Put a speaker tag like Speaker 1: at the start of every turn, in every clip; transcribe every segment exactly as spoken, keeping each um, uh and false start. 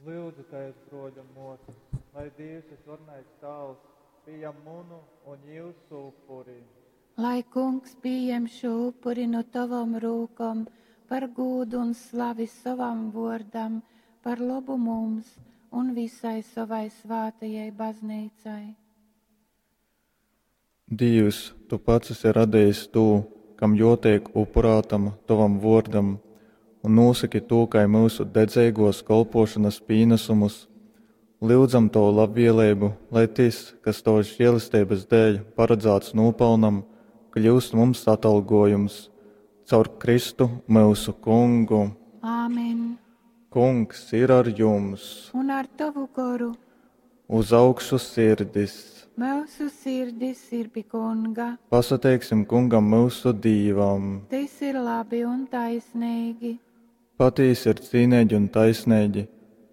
Speaker 1: Lyudzu, bruoļi un muosys, lai Dīvs, Vysvarenais Tāvs, pījam munu un jiusu upuri.
Speaker 2: Lai Kungs pījem šū upuri nu tovom rūkom par gūdu un slavi sovam vuordam, par lobu mums un visai sovai svātajai bazneicai.
Speaker 1: Dīvs, tu pats esi radejis tū, kam juoteik upurātam tovam vuordam, un nūsoki tū kai myusu dedzeiguos kolpuošonys pīnasumus. Lyudzam tovu labvieleibu, lai tys, kas tovys žielesteibys dēļ paradzāts nūpalnam, kļiust mums atalgojums. Caur Kristu myusu Kungu.
Speaker 2: Āmen.
Speaker 1: Kungs ir ar jums!
Speaker 2: Un ar tovu goru.
Speaker 1: Uz augšu sirdis!
Speaker 2: Myusu sirdis ir pi Kunga.
Speaker 1: Pasateiksim Kungam myusu Dīvam!
Speaker 2: Tys ir labi un taisneigi.
Speaker 1: Patīsi ir cīneigi un taisneigi,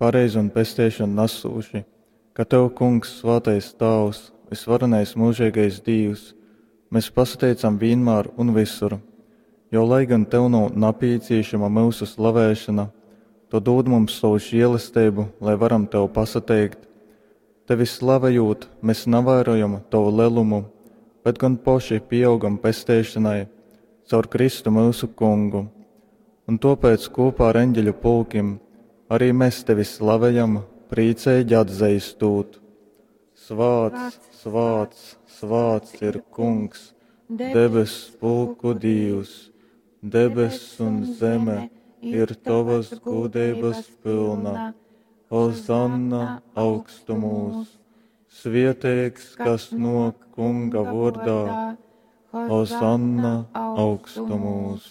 Speaker 1: pareizi un pesteišonu nasūši, ka tev, Kungs, svātais Tāvs, vysvarenais myužeigais Dīvs, mes pasateicam vīnmār un vysur, jo, lai gan tev nav napīcīšama myusu slavēšona, tu dūd mums sovu žēlesteibu, lai varam tev pasateikt. Tevi slavejūt, mēs navairojam tovu lelumu, bet gan poši pieaugam pesteišanai caur Kristu myusu Kungu. Un tōpēc kopā ar eņģeļu pulkim arī mēs tevi slavejam, prīceigi atzeistūt. Svāts, svāts, svāts ir Kungs, debess pulku Dīvs, debess un zeme ir tovas gūdeibas pilna. Hozanna augstumūs, svieteigs, kas nok Kunga vordā, Hozanna augstumūs.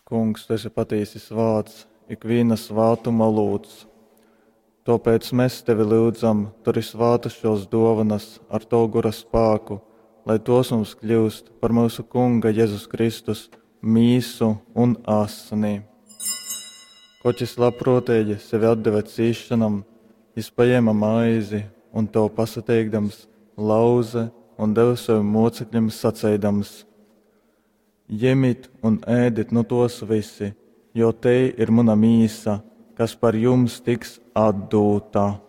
Speaker 1: Kungs, tu esi patīsi svāts, ikviena svātuma olūts. Tāpēc mēs tevi lyudzam, turi svātas šos dovanas ar tavu gora spāku, lai tos mums kļūst par mūsu Kunga Jēzus Kristus mīsu un asni. Koč jis labprōteigi sevi atdeve cīšanam, jis paņēma maizi un tev pasateikdams, lauze un deva saviem mocekļiem saceidams: Ņemit un ēdit nu tos visi, jo te ir mana mīsa, kas par jums tiks atdūta.